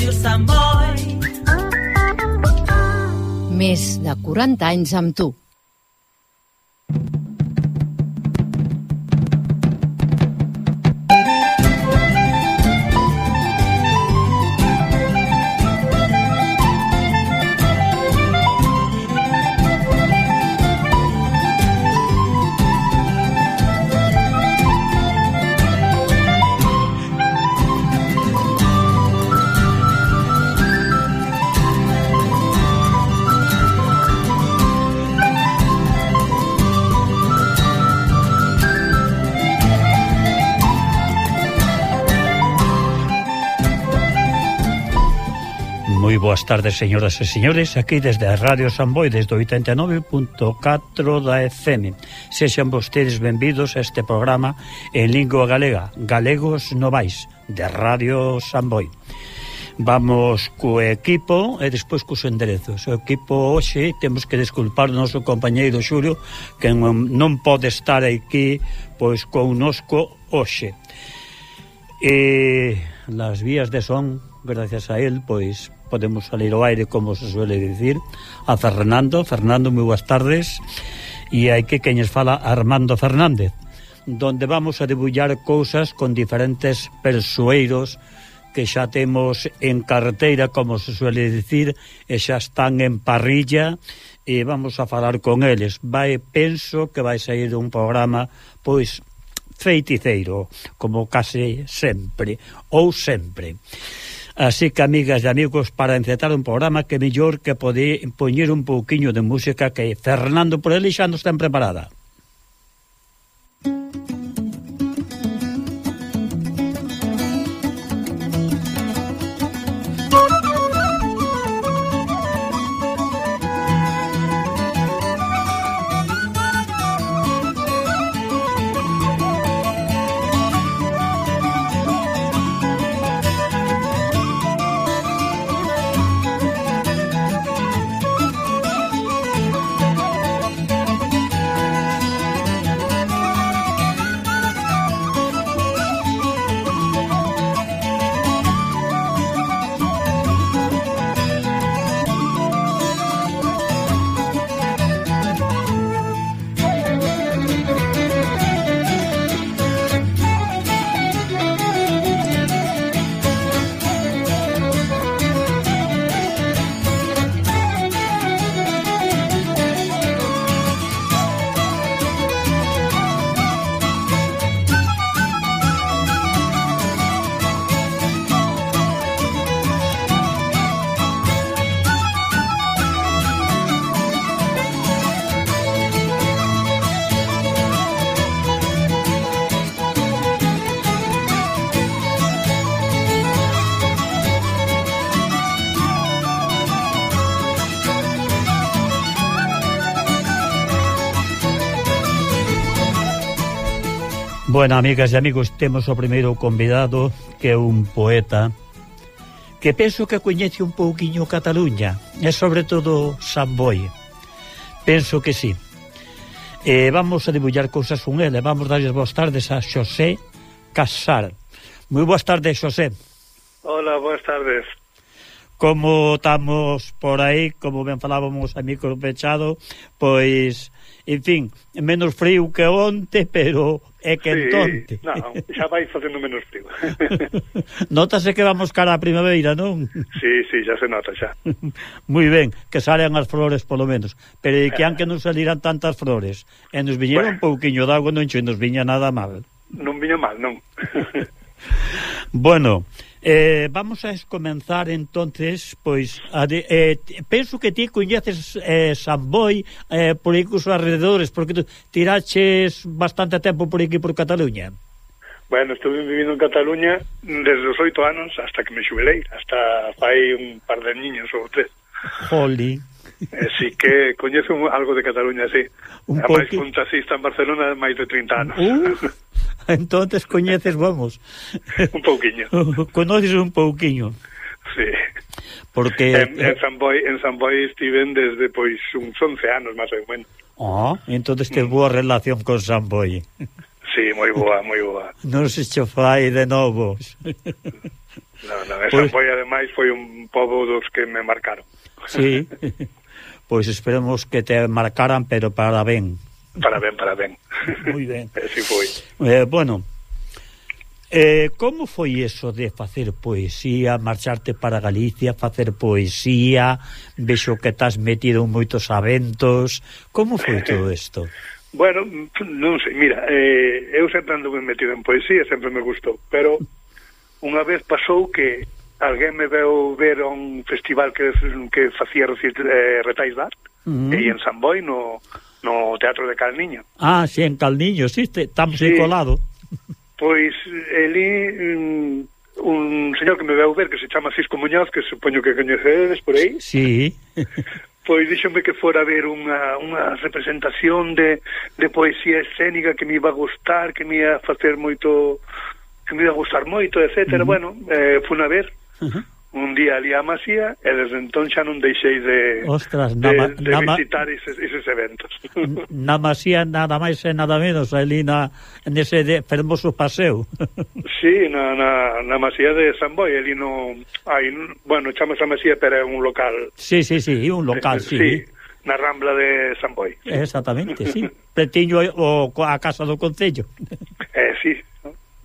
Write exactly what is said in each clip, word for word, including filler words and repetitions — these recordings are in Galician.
Ràdio Sant Boi. Més de quaranta anys amb tu. Moi boas tardes, señoras e señores, aquí desde a Radio San Boi, desde o oitenta e nove punto catro da F M. Sexan vostedes benvidos a este programa en lingua galega, Galegos Novais, de Radio San Boi. Vamos co equipo e despois cos enderezos. O equipo hoxe temos que desculpar o noso compañeiro Xulio, que non, non pode estar aquí pois connosco hoxe. E las vías de son, gracias a él, pois podemos salir ao aire, como se suele dicir, a Fernando. Fernando, moi boas tardes. E hai que queñes fala Armando Fernández, donde vamos a debullar cousas con diferentes persoeiros que xa temos en carteira, como se suele dicir, e xa están en parrilla, e vamos a falar con eles. Vai, penso que vai sair un programa, pois, feiticeiro, como case sempre, ou sempre. Así que, amigas e amigos, para encetar un programa, que mellor que pode poñer un pouquiño de música, que Fernando por ele xa nos ten preparada. Bueno, amigas e amigos, temos o primeiro convidado, que é un poeta que penso que coñece un pouquiño Cataluña e sobre todo San Boi. Penso que sí. E vamos a debullar cousas con ele. Vamos darles boas tardes a Xosé Casar. Moi boas tardes, Xosé. Hola, boas tardes. Como estamos por aí, como ben falábamos a micro pechado, pois, en fin, menos frío que onte, pero é quentonte. Sí, non, xa vai facendo menos frío. Nótase que vamos cara a primavera, non? Sí, sí, xa se nota, xa. Moi ben, que salen as flores polo menos, pero que anque non salirán tantas flores, e nos viñeron bueno. Un pouquiño de agua, non che nos viña nada mal. Non viña mal, non. Bueno, eh, vamos a comenzar entonces, pois, a de, eh, penso que ti coñeces eh, San Boi eh, por aí cos alrededores, porque tu tiraches bastante tempo por aquí por Cataluña. Bueno, estuve vivindo en Cataluña desde os oito anos hasta que me xubilei, hasta fai un par de niños ou tres. Joli. Así que coñezo algo de Cataluña, sí. Un a máis poqui... un taxista en Barcelona de máis de trinta anos. Uh, entonces coñeces, vamos. Un pouquiño. Conoces un pouquiño. Sí. Porque en, en San Boi, en San Boi estiven desde pois uns once anos máis ou menos. Ah, entonces te boa relación con San Boi. Sí, moi boa, moi boa. Non se cho fai de novos. No, no, esa Pois... foi, ademais, foi un pobo dos que me marcaron. Sí, pois esperemos que te marcaran, pero para ben. Para ben, para ben. Moi ben. Así foi. Eh, bueno, eh, como foi eso de facer poesía, marcharte para Galicia, facer poesía, vexo que estás metido en moitos eventos, como foi todo isto? Bueno, non sei, mira, eh, eu sempre ando metido en poesía, sempre me gustou, pero unha vez pasou que alguén me veu ver a un festival que, que facía eh, retais de arte, uh-huh. e en San Boi, no, no Teatro de Calniño. Ah, sí, en Calniño, sí, estamos sí. aí colado. Pois, eli, un, un señor que me veu ver, que se chama Cisco Muñoz, que supoño que coñecedes por aí. Sí. Pois díxome que fora a ver unha, unha representación de, de poesía escénica que me iba a gustar, que me ia facer moito, que me iba a gustar moito, etcétera. Uh-huh. Bueno, eh, fun a ver uh-huh. un día ali a Masía e desde entón xa non deixei de, Ostras, de, nama, de nama, visitar eses, eses eventos. Na Masía nada máis e nada menos, ali na, nese de, fermoso paseo. Sí, na, na, na Masía de San Boi, ali no... Hai, bueno, chamamos a Masía, pero é un local... Sí, sí, sí, un local, sí. Sí, na Rambla de San Boi. Exactamente, sí. Pretiño o, a casa do Concello. Eh, sí,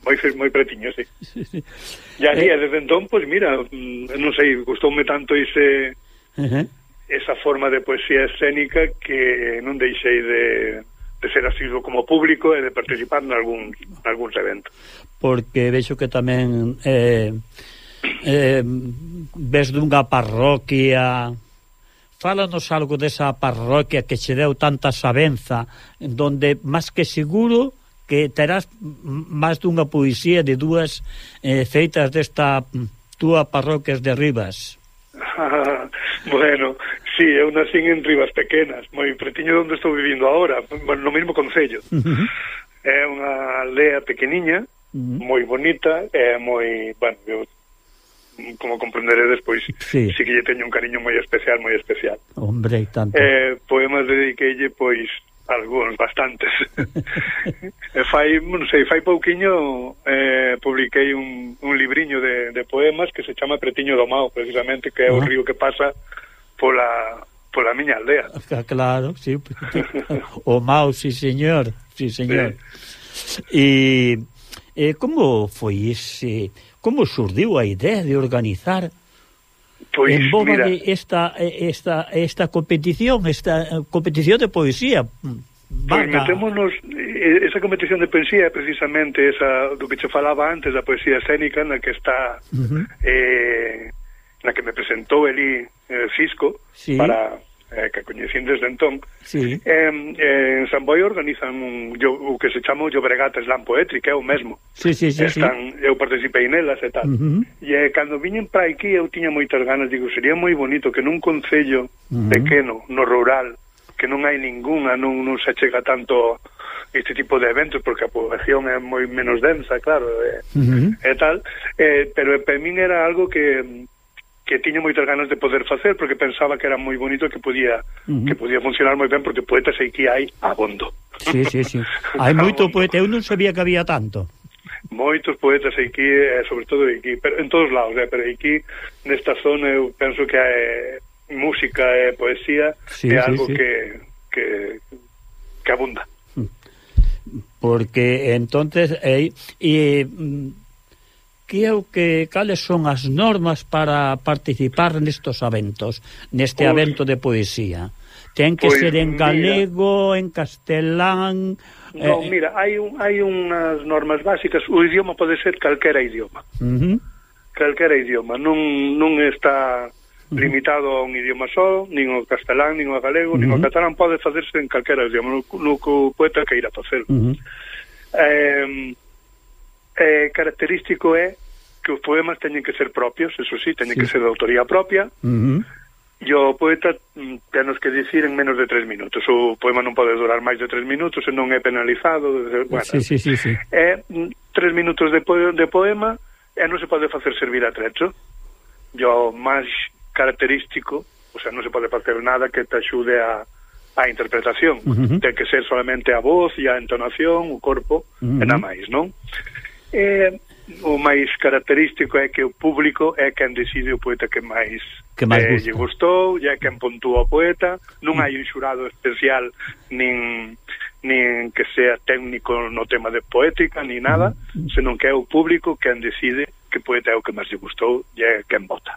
moi, moi pretiño, sí. Sí, sí. E ali, eh, desde entón, pois pues, mira, non sei, gustoume tanto ese... Uh-huh. esa forma de poesía escénica que non deixei de... de ser asiduo como público e de participar en algún, algúns eventos. Porque vexo que tamén eh, eh, ves dunha parroquia, fálanos algo desa parroquia que che deu tanta sabenza, donde máis que seguro que terás máis dunha poesía de dúas eh, feitas desta túa parroquias de Rivas. Bueno, sí, eu nací en Rivas Pequenas, moi pretiño onde estou vivindo agora, bueno, no mesmo concello. Uh-huh. É unha aldea pequeniña, uh-huh. moi bonita, é moi, bueno, eu, como comprenderedes, pois, sí. sí que lle teño un cariño moi especial, moi especial. Hombre, tanto. Eh, poemas dediqueille, pois, algúns, bastantes. E fai, non sei, fai pouquiño eh, publiquei un, un libriño de, de poemas que se chama Pretiño do Mao, precisamente, que é uh-huh. o río que pasa pola, pola miña aldea. Claro, sí. O Mao, sí, señor. Sí, señor. E eh, como foi ese... Como surdiu a idea de organizar pois, en boga mira, de esta, esta, esta competición, esta competición de poesía? Pois metémonos, esa competición de poesía é precisamente esa do que che falaba antes, da poesía escénica, na que está uh-huh. eh, na que me presentou Eli eh, Cisco, sí. para eh, que coñecín desde entón. Sí. Eh, eh, en San Boi organizan un, yo, o que se chama o Llobregat Slam Poetry, que é o mesmo. Sí, sí, sí, Están, sí. Eu participei nelas e tal. Uh-huh. E eh, cando viñen para aquí eu tiña moitas ganas, digo, sería moi bonito que nun concello uh-huh. pequeno, no rural, que non hai ningunha, non, non se chega tanto este tipo de eventos, porque a población é moi menos densa, claro, e, uh-huh. e tal, eh, pero para min era algo que que tiña moitas ganas de poder facer, porque pensaba que era moi bonito, que podía uh-huh. que podía funcionar moi ben, porque poetas aí que hai abondo. Sí, sí, sí. Hai moito poeta, eu non sabía que había tanto. Moitos poetas aquí, eh, sobre todo aquí, pero en todos lados, eh, pero aquí, nesta zona, eu penso que hai música e poesía, sí, é algo sí, sí. que que que abunda. Porque entonces eh, e que é o que cales son as normas para participar nestos eventos, neste pues, evento de poesía? Ten que pues, ser en galego, mira, en castelán? No, eh, mira, hai un, hai unhas normas básicas. O idioma pode ser calquera idioma. Uh-huh. Calquera idioma, non non está limitado a un idioma só, nin o castelán, nin o galego, uh-huh. nin o catalán, pode facerse en calquera idioma, no, no que o poeta queira facer. Uh-huh. Eh, eh, característico é que os poemas teñen que ser propios, eso sí, teñen sí. que ser de autoría propia, uh-huh. e o poeta tenos que dicir en menos de tres minutos. O poema non pode durar máis de tres minutos e non é penalizado. Bueno, sí, sí, sí, sí. É tres minutos de, po de poema e non se pode facer servir a trecho. E o máis característico, o sea, non se pode facer nada que te axude a a interpretación. Uh-huh. Ten que ser solamente a voz e a entonación, o corpo, uh-huh. e nada máis, non? Eh, o máis característico é que o público é quen decide o poeta que máis que máis eh, gusta. lle gustou, e é quen puntúa o poeta, non hai un xurado especial nin nin que sea técnico no tema de poética ni nada, senón que é o público quen decide que poeta é o que máis lle gustou e é quen vota.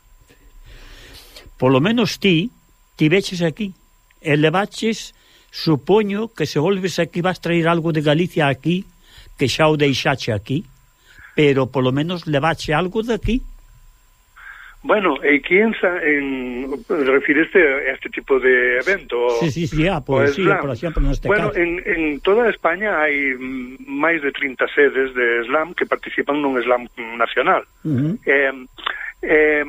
Por lo menos ti ti veches aquí e levaches, supoño que se volves aquí vas traer algo de Galicia aquí, que xa o deixache aquí, pero polo menos levache algo de aquí. Bueno, aquí en, en refiriste a este tipo de evento? Sí, sí, sí, a poesía, por exemplo, neste bueno, caso. en, en toda España hai máis de trinta sedes de slam que participan nun slam nacional. Uh -huh. eh, eh,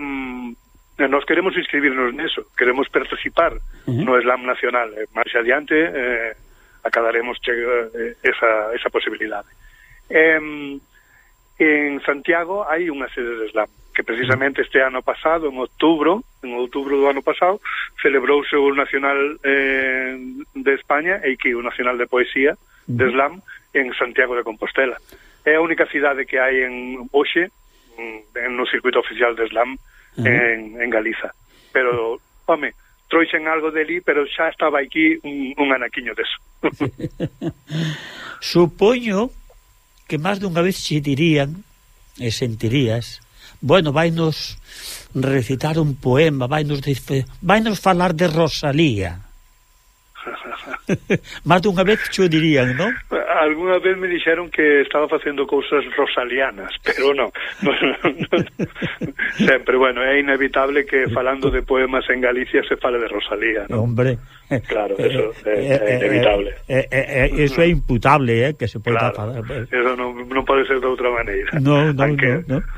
Nos queremos inscribirnos neso, queremos participar uh -huh. no slam nacional. Eh, máis adiante eh, acadaremos eh, esa, esa posibilidade. Eh, en Santiago hai unha sede de slam, que precisamente este ano pasado, en outubro, en outubro do ano pasado, celebrouse o Nacional eh, de España e que o Nacional de Poesía de slam en Santiago de Compostela. É a única cidade que hai en hoxe no circuito oficial de slam uh-huh. en, en Galiza. Pero, home, trouxen algo deli, pero xa estaba aquí un, un anaquiño deso. Supoño que máis dunha vez xe dirían e sentirías, bueno, vainos recitar un poema, vainos, vainos falar de Rosalía. Máis dunha vez xo dirían, non? Alguna vez me dixeron que estaba facendo cousas rosalianas, pero non, non, non. Sempre, bueno, é inevitable que falando de poemas en Galicia se fale de Rosalía, ¿no? Hombre, claro, eso eh, é, é eh, inevitable. Eh, eh, eh, eso é imputable, eh, que se pode claro, falar. Eso non, non pode ser de outra maneira. No, no, Aunque... no, no.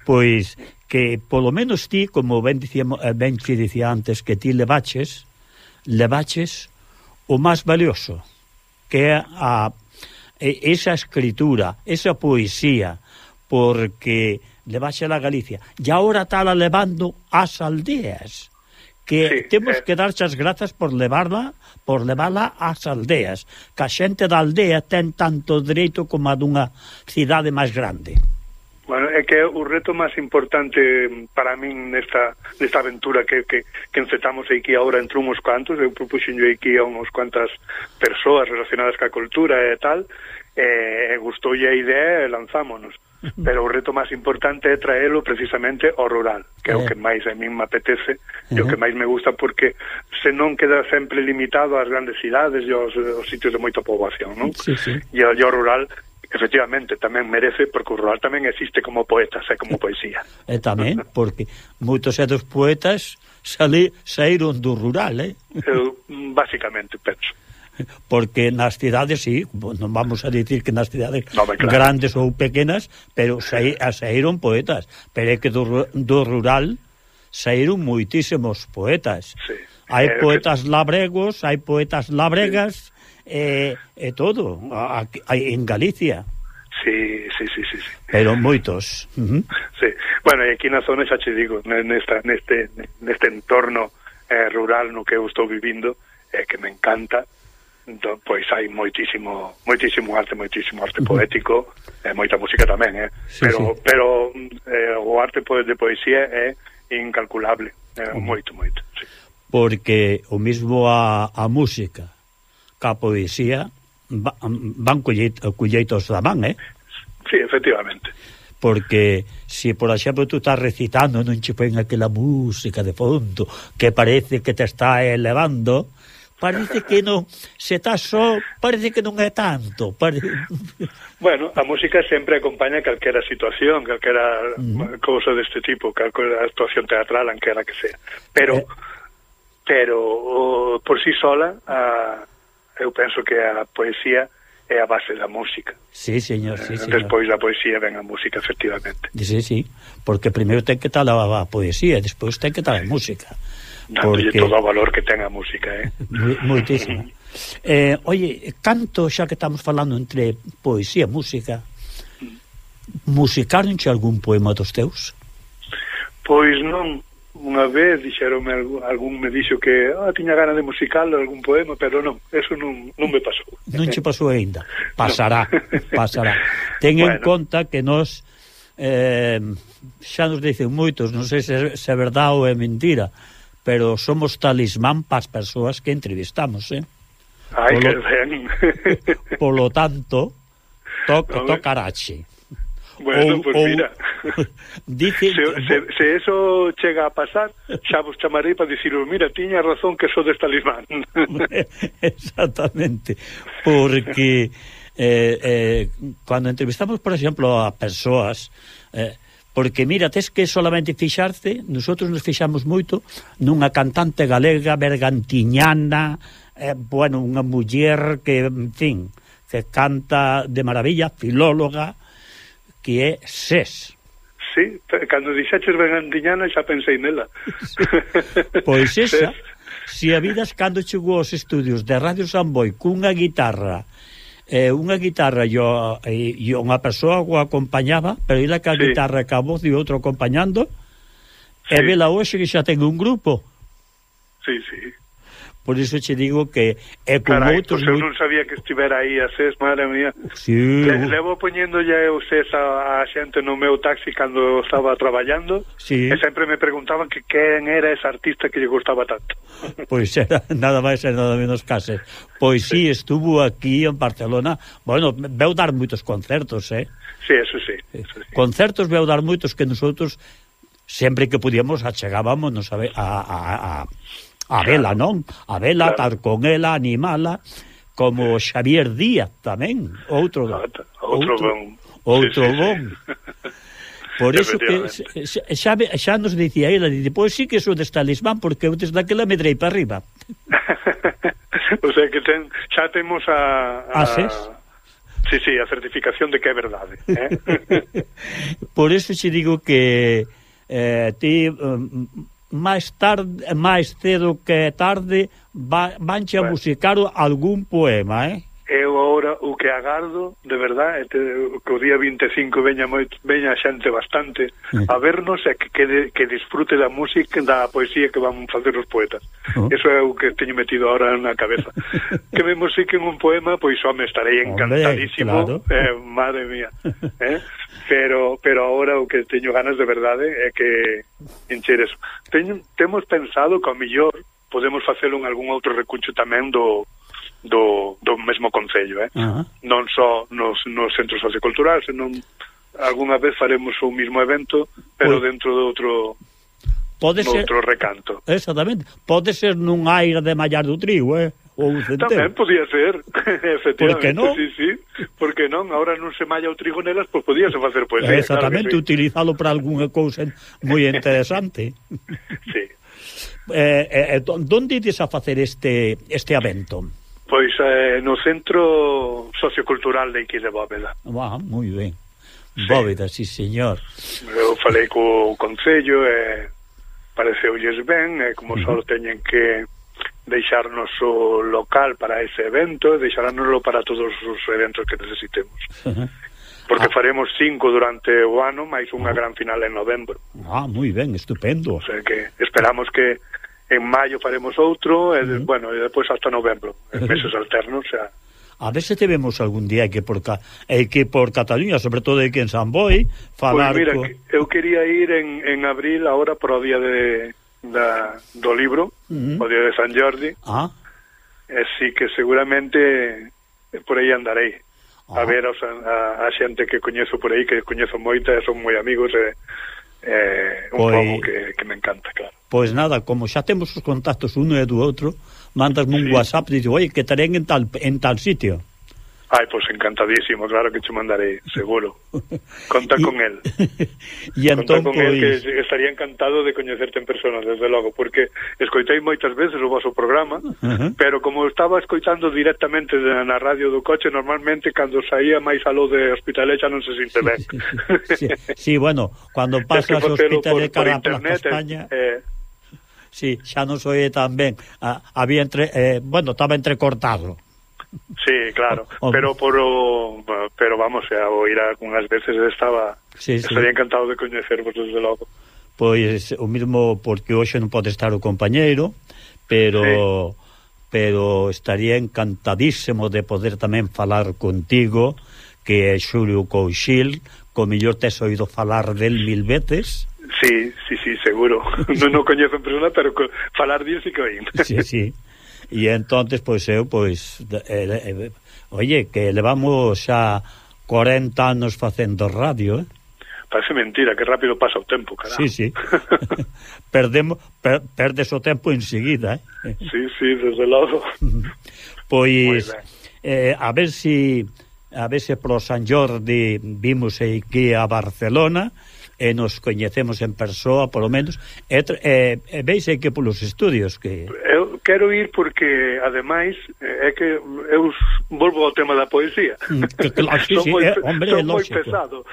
Pois que polo menos ti, como ben dicía, ben que dicía antes, que ti levaches, levaches o máis valioso, que é a esa escritura, esa poesía, porque levaxe a Galicia, e agora está levando ás aldeas, que sí, temos eh... que darche as grazas por levarla, por levarla ás aldeas, que a xente da aldea ten tanto dereito como a dunha cidade máis grande. Bueno, é que o reto máis importante para min nesta, nesta aventura que, que, que encetamos aquí agora entre uns cuantos, eu propuxen yo aquí a uns cuantas persoas relacionadas ca cultura e tal, e gustoulle a idea e lanzámonos. Pero o reto máis importante é traelo precisamente ao rural, que é o que máis a min me apetece e o que máis me gusta, porque se non queda sempre limitado ás grandes cidades e aos, aos sitios de moita poboación, non? Sí, sí. E ao rural efectivamente tamén merece, porque o rural tamén existe como poetas e como poesía. E tamén, porque moitos dos poetas sali, saíron do rural, eh? Eu, basicamente, penso. Porque nas cidades, sí, non vamos a dicir que nas cidades no, claro. grandes ou pequenas, pero saí, saíron poetas. Pero é que do, do rural saíron moitísimos poetas. Sí. Hai eh, poetas que... labregos, hai poetas labregas... Sí. E, e todo a, a, en Galicia. Sí, sí, sí, sí, sí. Pero moitos. Uh -huh. Sí. Bueno, e aquí na zona xa che digo, nesta, neste, neste entorno eh, rural no que eu estou vivindo, eh, que me encanta, entón, pois hai moitísimo moitísimo arte, moitísimo arte uh -huh. poético, e eh, moita música tamén, eh. Sí, pero sí. pero eh, o arte de poesía é incalculable, eh, uh -huh. moito, moito, sí. Porque o mismo a, a música a poesía van colleitos da man, eh? Sí, efectivamente. Porque se, por exemplo, tú estás recitando, non che poen aquela música de fondo que parece que te está elevando, parece que non, se estás só, parece que non é tanto. Pare... Bueno, a música sempre acompaña calquera situación, calquera uh-huh. cousa deste tipo, calquera actuación teatral, anquera que sea. Pero, eh... pero o, por si sí sola, a eu penso que a poesía é a base da música. Sí, señor, sí, señor. Despois da poesía ven a música, efectivamente. Sí, sí, porque primeiro ten que estar a, a poesía, despois ten que estar a música. Dándolle porque... todo o valor que ten a música, eh? Moitísimo. eh, oye, canto, xa que estamos falando entre poesía e música, musicaronche algún poema dos teus? Pois non. Unha vez dixeronme, algún me dixo que ah, tiña gana de musical algún poema, pero non, eso non, non me pasou. Non che pasou aínda. Pasará, no. pasará. Ten bueno. en conta que nós eh, xa nos dicen moitos, non sei se, se é verdade ou é mentira, pero somos talismán para as persoas que entrevistamos, eh? Ai, polo, que ben. Polo tanto, toca, tocarache. Bueno, ou, pues ou, mira, dice, se, se, se eso chega a pasar, xa vos chamarei para diciros, mira, tiña razón que sodes talismán. Exactamente, porque eh, eh, cuando entrevistamos, por exemplo, a persoas, eh, porque mira, tes que solamente fixarse, nosotros nos fixamos moito nunha cantante galega bergantiñana, eh, bueno, unha muller que, en fin, que canta de maravilla, filóloga, que é Sés. Sí, cando dixaches bergantiñana xa pensei nela. Sí. Pois esa, se a vidas cando chegou aos estudios de Radio Samboy cunha guitarra, eh, unha guitarra e, e unha persoa o acompañaba, pero ela ca sí. guitarra, ca voz e outro acompañando, sí. E vela hoxe que xa ten un grupo. Sí, sí. Por iso che digo que é con Carai, outros... Pois eu non sabía que estivera aí a Sés, madre mía. Sí. Le, levo poñendo ya eu Sés a, a xente no meu taxi cando estaba traballando, sí. E sempre me preguntaban que quen era ese artista que lle gustaba tanto. Pois era nada máis e nada menos que Sés. Pois sí, estuvo aquí en Barcelona. Bueno, veu dar moitos concertos, eh? Sí, eso sí. Eso sí. Concertos veu dar moitos que nosotros sempre que podíamos achegábamos nos a, a, a, a a vela, claro. Non? A vela, claro. Tar con ela, animala, como Xavier Díaz tamén, outro outro, outro bon. Outro sí, sí, bon. Sí. Por eso que xa, xa nos dicía ela, pois sí que sou deste talismán, porque eu desde aquela me drei para arriba. O sea que ten, xa temos a... a... Ases? Sí, sí, a certificación de que é verdade. Eh? Por eso xe digo que eh, ti... Um, máis tarde, máis cedo que tarde va, vanche a bueno. musicar algún poema, eh? Eu agora o que agardo, de verdade, que o día vinte e cinco veña moito, veña xente bastante a vernos e que, que, que disfrute da música, da poesía que van facer os poetas. Uh-huh. Eso é o que teño metido ahora na cabeza. Que me musiquen un poema, pois home, estarei encantadísimo. Hombre, claro. eh, madre mía. Eh? Pero pero agora o que teño ganas de verdade é que encher eso. Teño, temos pensado que ao mellor podemos facelo en algún outro recuncho tamén do do, do mesmo concello, eh? Uh-huh. Non só nos, nos centros socioculturais, senón algunha vez faremos o mismo evento, pero pues, dentro de outro pode ser, outro recanto. Exactamente. Pode ser nun aire de Mallar do Trigo, eh? Ou tamén podía ser, efectivamente. Por que non? Sí, sí. Por que non? Ahora non se malla o trigo nelas, pois pues podíase facer poesía. Exactamente, claro sí. Utilizalo para algunha cousa moi interesante. Sí. Eh, eh, donde ides a facer este este evento? Pois eh, no Centro Sociocultural de Iqui de Bóveda. Ah, moi ben. Sí. Bóveda, sí, señor. Eu falei co Concello e pareceulles ben, e como uh-huh. só teñen que deixarnos o local para ese evento, deixaránnoslo para todos os eventos que necesitemos. Uh-huh. Porque ah. faremos cinco durante o ano, máis unha uh-huh. gran final en novembro. Ah, moi ben, estupendo. O sea que esperamos que en maio faremos outro, e, uh-huh. bueno, e depois hasta novembro, en meses alternos, o sea... A ver se te vemos algún día que por ca... eh, que por Cataluña, sobre todo aquí en San Boi, falar... Pois mira, co... eu quería ir en, en abril, agora por o día de, da, do libro, uh-huh. o día de San Jordi, ah. e sí que seguramente por aí andarei, ah. a ver os, a, a xente que coñezo por aí, que coñezo moita, e son moi amigos, e... Eh, un pois, poco que, que me encanta, claro. Pois nada, como xa temos os contactos uno e do outro, mandasme un sí. WhatsApp e digo, oi, que estarén en tal, en tal sitio. Ai, pois pues encantadísimo, claro que te mandarei, seguro. Conta con él. E entón, Conta con pois... él, que estaría encantado de coñecerte en persona, desde logo, porque escoitei moitas veces o vosso programa, uh-huh. pero como estaba escoitando directamente na radio do coche, normalmente cando saía máis aló de Hospitalet xa non se sinte ben. Sí, sí, sí. Sí, bueno, cando pasas o Hospitalet cara a Plaza España... Eh, sí, xa non soe tan ben. Ah, había entre... Eh, bueno, estaba entrecortado. Sí, claro, o, pero por o, pero vamos, a oír algunhas veces estaba sí, sí. estaría encantado de coñecervos desde logo. Pois o mismo porque hoxe non pode estar o compañeiro, pero sí. pero estaría encantadísimo de poder tamén falar contigo, que é Xulio Couchil, co mellor tes oído falar del mil veces. Sí, sí, sí, seguro. Non no coñezo en persona, pero co, falar dir sí que oín. Sí, sí. E entonces, pois eu, pois eh, eh, oye, que levamos xa cuarenta anos facendo radio, eh? Parece mentira, que rápido pasa o tempo, caramba. Sí, sí. Perdemos, per, perdes o tempo enseguida, eh? Sí, sí, desde logo. Pois eh, a ver si a ver se pro San Jordi vimos aquí a Barcelona e nos coñecemos en persoa, polo menos, e, e, e veis que polos estudios que... Eu quero ir porque, ademais, é que eu volvo ao tema da poesía. Que, claro, sí, sí, moi, é, hombre, son é moi lógico. pesado.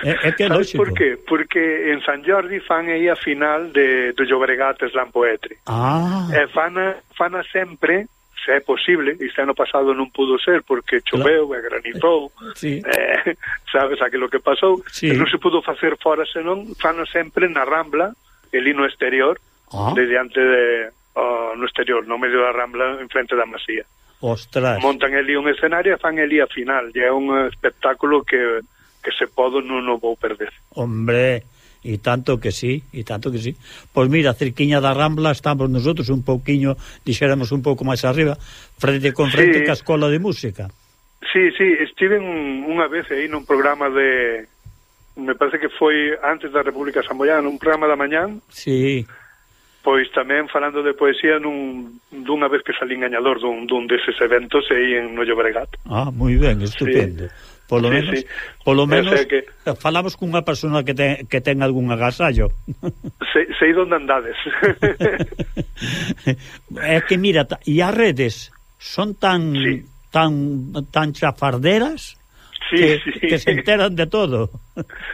É, é que é lógico. Por qué? Porque en San Jordi fan aí a final de, do Llobregat Slam Poetry. Ah. E fana, fana sempre... se é posible, este ano pasado non pudo ser porque choveu claro. E granizou, sí. eh, sabes aquilo que pasou, sí. E non se pudo facer fora senón fano sempre na Rambla, ali no exterior, ah. de diante de, oh, no exterior, no medio da Rambla, en frente da Masía. Ostras. Montan ali un escenario e fan ali a final, e é un espectáculo que, que se podo non o vou perder. Hombre... E tanto que sí, e tanto que sí. Pois mira, cerquiña da Rambla estamos nosotros un pouquiño, dixéramos un pouco máis arriba, frente con frente sí. ca Escola de Música. Sí, sí, estive un, unha vez aí nun programa de, me parece que foi antes da República Samboiana, un programa da mañán. Sí. Pois tamén falando de poesía nun, dunha vez que salín gañador dun, dun deses eventos aí en no Llobregat. Ah, moi ben, estupendo. Sí. Polo sí, menos, sí. polo menos que... falamos cunha persona que ten, que ten algún agasallo. Sei, sei onde andades. É que mira, e as redes son tan sí. tan tan chafarderas sí, que, sí. que se enteran de todo.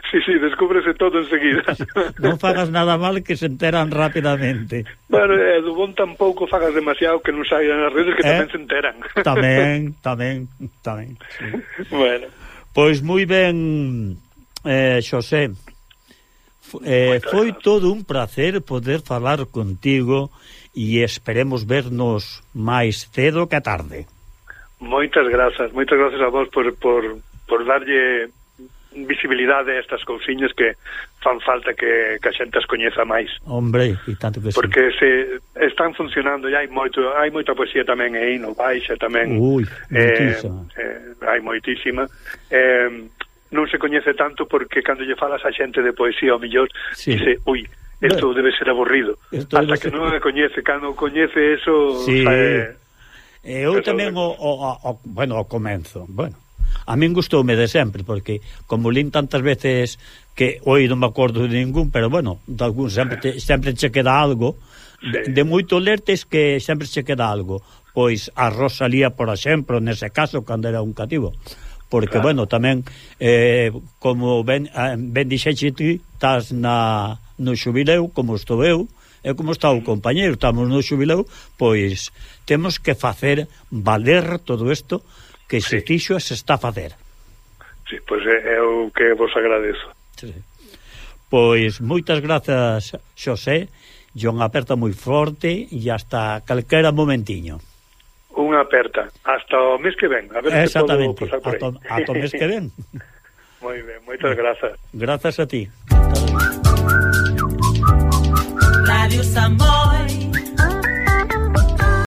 Sí, sí, descúbrese todo enseguida. Non fagas nada mal que se enteran rapidamente. Bueno, e do bon tampouco fagas demasiado que non saian as redes que eh? tamén se enteran. Tamén, tamén, tamén. Sí. Bueno. Pois moi ben, eh, Xosé, eh, foi todo un placer poder falar contigo e esperemos vernos máis cedo que tarde. Moitas grazas, moitas grazas a vos por, por, por darlle visibilidade a estas cousiñas que fan falta que, que a xente as coñeza máis. Hombre, e tanto que sí. Porque se están funcionando, e hai moito, hai moita poesía tamén aí no Baixa tamén. Ui, moitísima. Eh, eh, hai moitísima. Eh, non se coñece tanto porque cando lle falas a xente de poesía ao millor, sí. Dice, ui, isto debe ser aburrido. Esto hasta que ser... non me coñece, cando coñece eso... Sí. Sabe, eu tamén o, o, o, bueno, ao comenzo, bueno, a min gustoume de sempre, porque como lín tantas veces que hoy non me acordo de ningún, pero bueno, de algún sempre, te, sempre che queda algo, sí. de, de moito lertes que sempre che queda algo, pois a Rosalía, por exemplo, nese caso, cando era un cativo, porque, claro. Bueno, tamén, eh, como ben, ben dixeche ti, estás na, no xubileu, como estou eu, e como está o compañeiro, estamos no xubileu, pois temos que facer valer todo isto que se sí. fixo e se está a facer. Sí, pois é o que vos agradezo. Sí. Pois moitas grazas, Xosé, e unha aperta moi forte e hasta calquera momentiño. Unha aperta, hasta o mes que ven, a ver se podo pasar por aí. Hasta o mes que ven. Moi ben, moitas grazas. Grazas a ti. Radio Samboy.